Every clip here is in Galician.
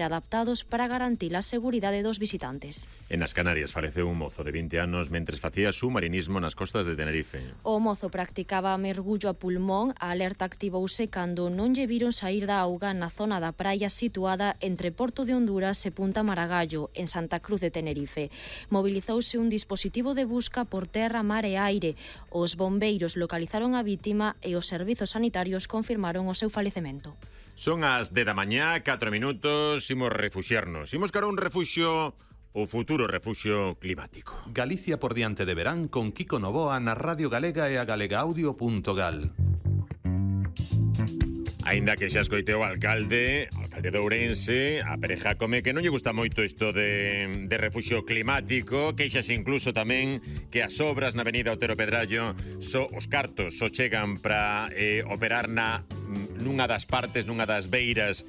adaptados para garantir a seguridade dos visitantes. En as Canarias faleceu un mozo de 20 anos mentres facía submarinismo nas costas de Tenerife. O mozo practicaba mergullo a pulmón. A alerta activouse cando non lle viron saír da auga na zona da praia situada entre Porto de Honduras e Punta Maragallo, en Santa Cruz de Tenerife. Mobilizouse un dispositivo de busca por terra, mar e aire. Os bombeiros localizaron a vítima e os servizos sanitarios confirmaron o seu falecemento. Son as 10 da mañá, 4 minutos, imos refuxiarnos. Imos cara a un refuxio, o futuro refuxio climático. Galicia por diante de verán con Kiko Novoa na Radio Galega e a galegaaudio.gal. Aínda que xa escoiteu o alcalde de Ourense, a Pere Jácome, que non lle gusta moito isto de refuxio climático, queixase incluso tamén que as obras na avenida Otero Pedrallo, os cartos só chegan para operar nunha das partes, nunha das beiras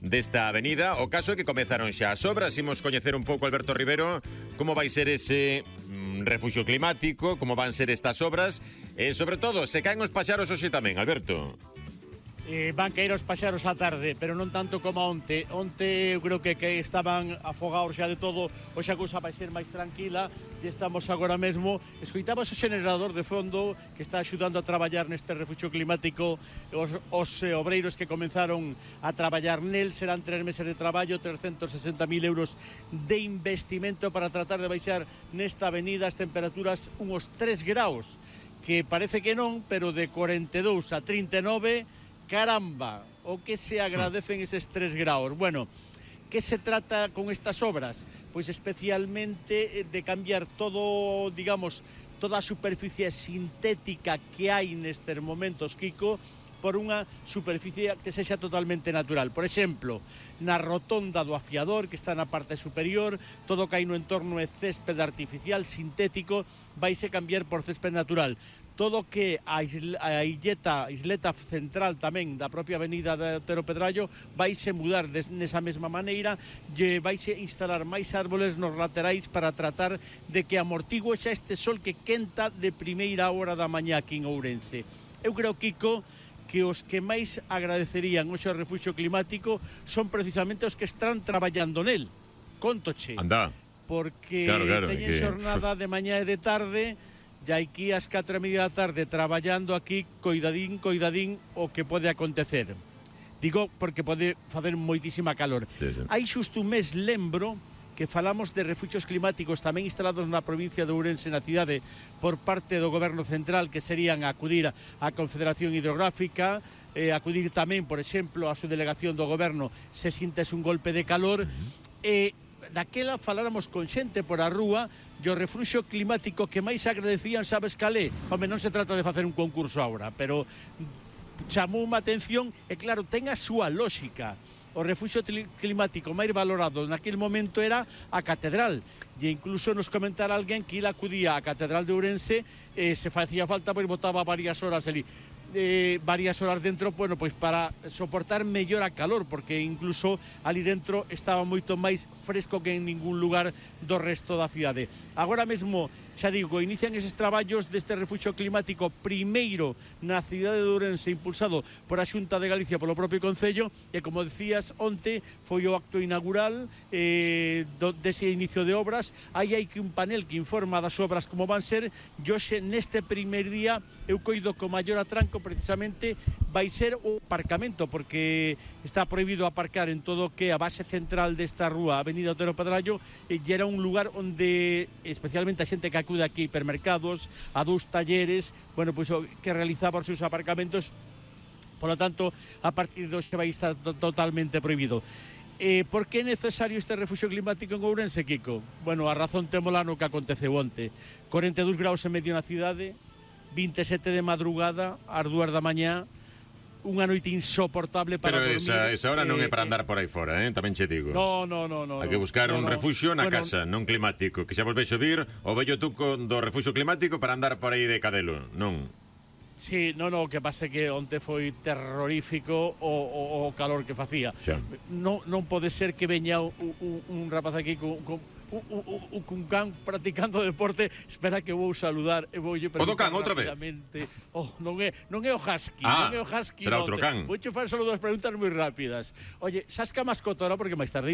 desta avenida. O caso é que comezaron xa as obras. Imos coñecer un pouco, Alberto Rivero, como vai ser ese refuxio climático, como van ser estas obras e, sobre todo, se caen os paxaros hoxe tamén, Alberto. Van caer os paxaros á tarde, pero non tanto como onte. Onte eu creo que estaban afogados xa de todo. Hoxe a cousa vai ser máis tranquila e estamos agora mesmo. Escoitamos o xenerador de fondo que está axudando a traballar neste refuxio climático. Os obreiros que comenzaron a traballar nel serán 3 meses de traballo, 360.000 euros de investimento para tratar de baixar nesta avenida as temperaturas unos 3 graus, que parece que non, pero de 42 a 39... Caramba, o que se agradecen eses 3 graus. Bueno, que se trata con estas obras? Pois especialmente de cambiar todo, digamos, toda a superficie sintética que hai nestes momentos, Kiko, por unha superficie que sexa totalmente natural. Por exemplo, na rotonda do afiador, que está na parte superior, todo que hai no entorno é césped artificial, sintético, vaise cambiar por césped natural. Todo que a isleta central tamén da propia avenida de Otero Pedrallo vaise mudar nesa mesma maneira, e vaise instalar máis árboles nos laterais para tratar de que amortigue xa este sol que quenta de primeira hora da mañá aquí en Ourense. Eu creo, Kiko, que os que máis agradecerían hoxe o refuxio climático son precisamente os que están traballando nel. Contoche. Anda. Porque claro, teñen xornada de mañá e de tarde, e aquí ás 4:30 da tarde traballando aquí, coidadín o que pode acontecer. Digo porque pode facer moitísima calor. Sí. Hai xusto un mes, lembro, que falamos de refuxios climáticos tamén instalados na provincia de Ourense, na cidade, por parte do goberno central, que serían acudir á Confederación Hidrográfica, acudir tamén, por exemplo, a súa delegación do goberno se sintes un golpe de calor, e daquela faláramos con xente por a rúa, e o refuxio climático que máis agradecían, sabes calé? Home, non se trata de facer un concurso agora, pero chamou unha atención, e claro, ten a súa lógica. O refuxio climático máis valorado naquele momento era a catedral, e incluso nos comentara alguén que ila acudía á catedral de Ourense e se facía falta, pois botaba varias horas ali. Varias horas dentro, bueno, pois para soportar mellor a calor, porque incluso ali dentro estaba moito máis fresco que en ningún lugar do resto da cidade. Agora mesmo, xa digo, inician eses traballos deste refuxio climático primeiro na cidade de Ourense, impulsado por a Xunta de Galicia, polo propio Concello, e como decías, onte foi o acto inaugural dese inicio de obras. Aí hai que un panel que informa das obras como van ser, e hoxe neste primer día eu coido co maior atranco precisamente vai ser o aparcamento, porque está prohibido aparcar en todo o que a base central desta rúa, Avenida Otero Pedrallo, e era un lugar onde especialmente a xente que acude aquí, hipermercados, a dous talleres, bueno, pois que realizaba os seus aparcamentos. Por lo tanto, a partir de hoxe vai estar totalmente prohibido. Por que é necesario este refuxio climático en Ourense, Kiko? Bueno, a razón témola no que aconteceu onte. 42 graus e medio na cidade, 27 de madrugada, ás 2 da mañá, unha noite insoportable para dormir. Pero esa hora non é para andar por aí fora, tamén che digo. No. Hai que buscar un refuxio na casa, non climático, que xa vos vexo vir o vello tuco do refuxio climático para andar por aí de cadelo, non? Sí, o que pasa é que onte foi terrorífico o calor que facía. Non pode ser que veña un rapaz aquí con un can practicando deporte. Espera que vou saludar e voulle preguntar outra vez. Non é o husky, non é o husky. Será outro can. Vouche facer solo 2 preguntas moi rápidas. Oye, sabes que a mascota ahora, porque máis tarde